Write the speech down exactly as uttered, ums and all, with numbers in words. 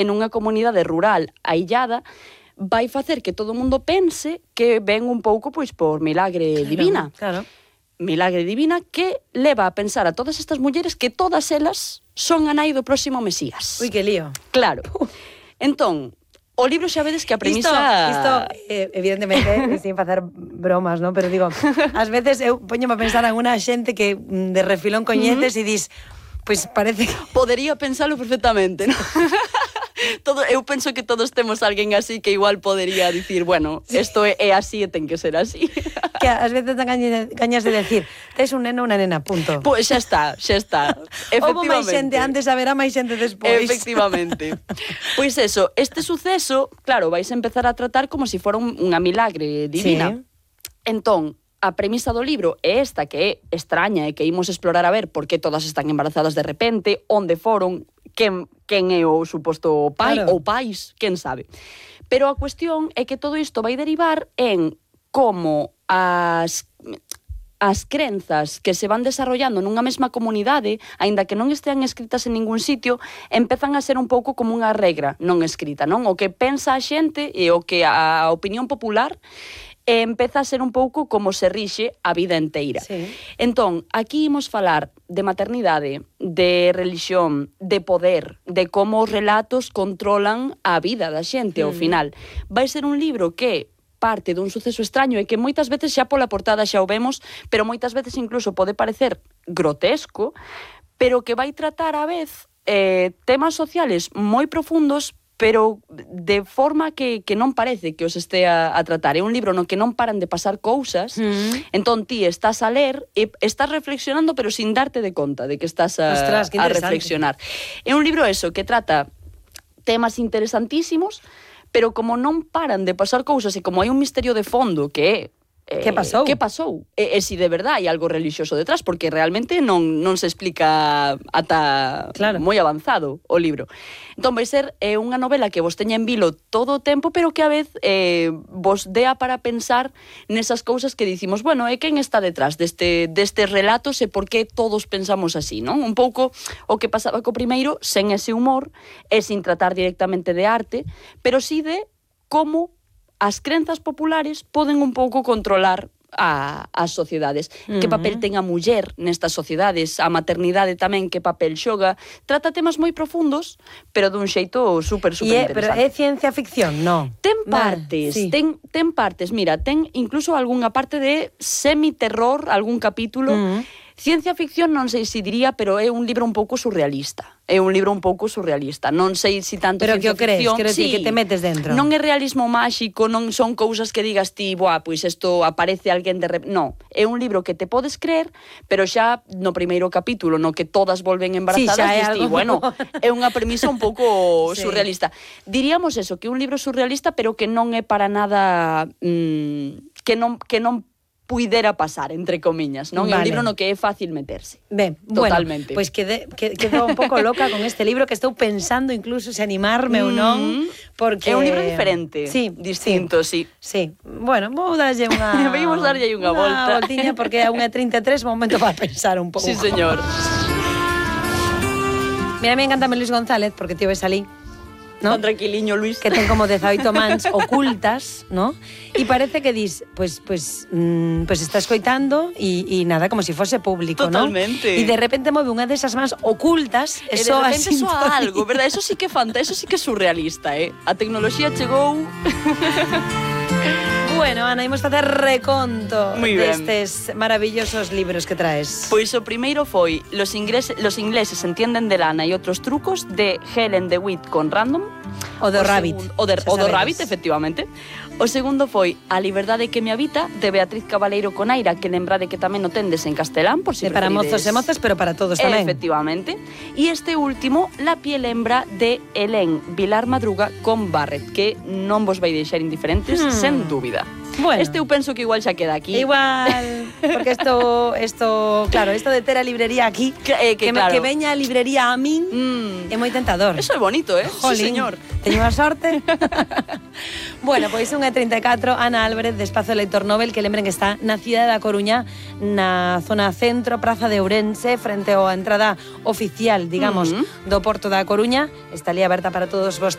en unha comunidade rural aillada, vai facer que todo o mundo pense que ven un pouco pois por milagre claro, divina. Claro. Milagre divina que leva a pensar a todas estas mulleres que todas elas son a nai do próximo Mesías. Ui, que lío. Claro. Entón, o libro xa vedes que a premisa... Isto, isto eh, evidentemente, sin facer bromas, ¿no? Pero digo, ás veces eu poñome a pensar en unha xente que de refilón coñeces uh-huh. e dis, pois pues parece que... Podería pensalo perfectamente, ¿no? Todo, eu penso que todos temos alguén así que igual podería dicir, bueno, isto é, é así e ten que ser así. Que ás veces te gañas de decir, tes un neno ou unha nena, punto. Pois xa está, xa está. Houbo máis xente antes, haberá máis xente despois. Efectivamente. Pois eso, este suceso, claro, vais a empezar a tratar como se si fora un, unha milagre divina. Sí. Entón, a premisa do libro é esta, que é extraña e que imos explorar a ver por que todas están embarazadas de repente, onde foron, quen, quen é o suposto pai claro. ou pais, quen sabe. Pero a cuestión é que todo isto vai derivar en como as... as crenzas que se van desarrollando nunha mesma comunidade, aínda que non estean escritas en ningún sitio, empezan a ser un pouco como unha regra non escrita, non? O que pensa a xente e o que a opinión popular e empeza a ser un pouco como se rixe a vida enteira. Sí. Entón, aquí imos falar de maternidade, de religión, de poder, de como os relatos controlan a vida da xente, mm. ao final. Vai ser un libro que parte dun suceso extraño e que moitas veces xa pola portada xa o vemos, pero moitas veces incluso pode parecer grotesco, pero que vai tratar a vez eh, temas sociales moi profundos, pero de forma que, que non parece que os estea a tratar. É un libro no que non paran de pasar cousas, mm. entón ti estás a ler e estás reflexionando, pero sin darte de conta de que estás a, Ostras, que a reflexionar. É un libro eso, que trata temas interesantísimos, pero como non paran de pasar cousas e como hai un misterio de fondo que é eh, que pasou? Que pasou? E, e si de verdade hai algo religioso detrás, porque realmente non, non se explica ata claro. moi avanzado o libro. Entón vai ser eh, unha novela que vos teña en vilo todo o tempo, pero que a vez eh, vos dea para pensar nesas cousas que dicimos, bueno, e quen está detrás deste, destes relatos e por que todos pensamos así, non? Un pouco o que pasaba co primeiro, sen ese humor e sin tratar directamente de arte, pero sí de como as crenzas populares poden un pouco controlar a, as sociedades. Uh-huh. Que papel ten a muller nestas sociedades, a maternidade tamén, que papel xoga. Trata temas moi profundos, pero dun xeito super, super é, interesante. Pero é ciencia ficción, non? Ten partes, sí. ten, ten partes. Mira, ten incluso algunha parte de semi-terror, algún capítulo. Uh-huh. Ciencia ficción non sei se diría, pero é un libro un pouco surrealista. É un libro un pouco surrealista. Non sei se tanto pero ciencia Pero que o crees, ficción... quero sí, decir, que te metes dentro. Non é realismo máxico, non son cousas que digas ti, boa, pois isto aparece alguén de... Rep... Non, é un libro que te podes creer, pero xa no primeiro capítulo, no que todas volven embarazadas, sí, dis ti, algo... bueno, é unha premisa un pouco sí. surrealista. Diríamos eso, que é un libro surrealista, pero que non é para nada... Mmm, que non... Que non puidera pasar, entre comiñas, non? Vale. É un libro no que é fácil meterse. Ben, totalmente. Bueno, pois quedé, quedou un pouco loca con este libro, que estou pensando incluso se animarme mm, ou non, porque... É un libro diferente, sí, distinto, sí. Sí, bueno, vou darlle unha... Vimos darlle unha volta. Unha voltiña, porque a unha trinta e tres, momento para pensar un pouco. Sí, señor. Mira, a mí encantame Luis González, porque tío ves ali, ¿no? Tan tranquiliño, Luis. Que ten como dezaoito mans ocultas, ¿no? E parece que dis, pues, pues, mmm, pues está escoitando e, e nada, como se si fose público, ¿no? Totalmente. E de repente move unha desas mans ocultas e, e de repente soa algo, verdad? Eso sí que é fanta, eso sí que é surrealista, eh? A tecnoloxía chegou... Bueno, Ana, imos facer reconto Muy destes maravillosos libros que traes. Pois o primeiro foi Los ingleses, los ingleses entienden de lana e outros trucos, de Helen DeWitt con Random. O do Rabbit. O, de, o do Rabbit, efectivamente. O segundo foi A liberdade que me habita, de Beatriz Cabaleiro con Aira, que lembrade que tamén o tendes en castelán, por si de para mozos e mozas, pero para todos tamén. Efectivamente. E este último, La piel hembra, de Helen Vilar Madruga con Barrett, que non vos vai deixar indiferentes, hmm. sen dúbida. Bueno. Este eu penso que igual xa queda aquí. Igual, porque esto, esto, claro, esto de ter a librería aquí, que, eh, que, que, claro. que veña a librería a min, mm. é moi tentador. Eso é bonito, eh? Jolín, Sí, señor. Teño a sorte. Bueno, pois unha e trinta e catro, Ana Álvarez, de Espazo Lector Nobel, que lembren que está na cidade da Coruña, na zona centro, Praza de Ourense, frente á entrada oficial, digamos, uh -huh. do Porto da Coruña. Está ali aberta para todos vos